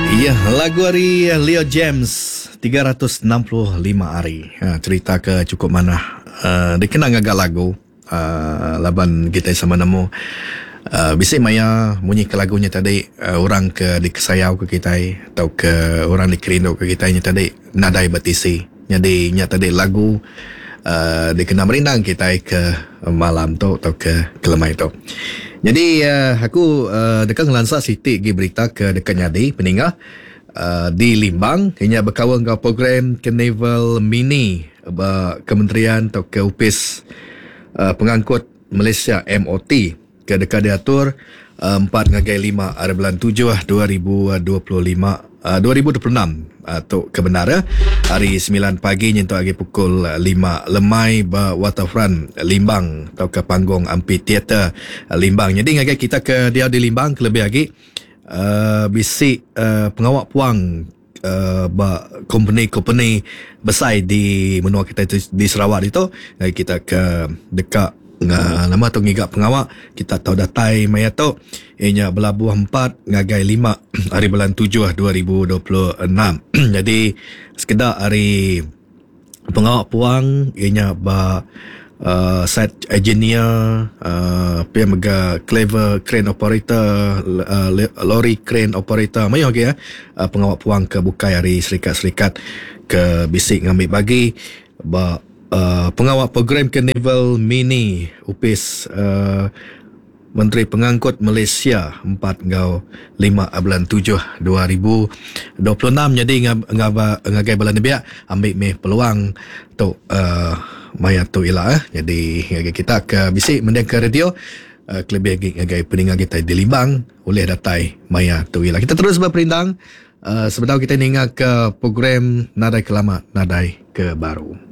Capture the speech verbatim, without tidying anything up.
Iya, lagu ari Leo James tiga ratus enam puluh lima hari. Ha, cerita ke cukup manah. Uh, dikena ngaga lagu uh, laban kita sama nemu uh, bisi maya munyi ke lagunya tadi uh, orang ke dikesayau ke kita atau ke orang dikerindu ke kita nya tadi nadai betisi. Jadi nya tadi lagu uh, dikena merindang kita ke malam tu atau ke kelemai tu. Jadi uh, aku uh, deka ngelansa siti gi berita ke deka nyadi peningah uh, di Limbang inya berkawan dengan program Carnival Mini ba Kementerian atau ke Upis uh, Pengangkut Malaysia M O T ke deka diatur uh, empat ngagai lima hari bulan tujuh dua ribu dua puluh lima uh, dua ribu dua puluh enam uh, tu kebenar ya. Hari sembilan pagi nyentuk agi pukul lima lemai ba Waterfront Limbang atau ke panggung amphitheater Limbang. Jadi ngagai kita ke dia di Limbang kelebih agi uh, bisi uh, pengawak puang uh, ba company-company besar di menua kita di Sarawak itu. Ngagai kita ke dekat Nga, nama tu ngiga pengawak kita tahu datai maya tu ianya belabuh empat ngagai lima hari bulan tujuh dua ribu dua puluh enam. Jadi sekedar hari pengawak puang ianya ba uh, site engineer, uh, P M G clever crane operator, uh, lorry crane operator mayo lagi ya uh, pengawak puang ke bukai hari serikat-serikat ke bisik ngambil bagi ba Uh, pengawak program Carnival Mini Upis uh, Menteri Pengangkut Malaysia empat ngau lima bulan tujuh dua ribu dua puluh enam. Jadi ngaba ngagai bala nebiak ambil meh peluang tu uh, maya tu ila eh. Jadi ngagai kita ke bisi mending ke radio uh, kelebih lagi ngagai peninga kita di Limbang oleh datai maya tu ila. Kita terus berperindang uh, sebentar kita ninga ke program Nadai Kelama Nadai Ke Baru.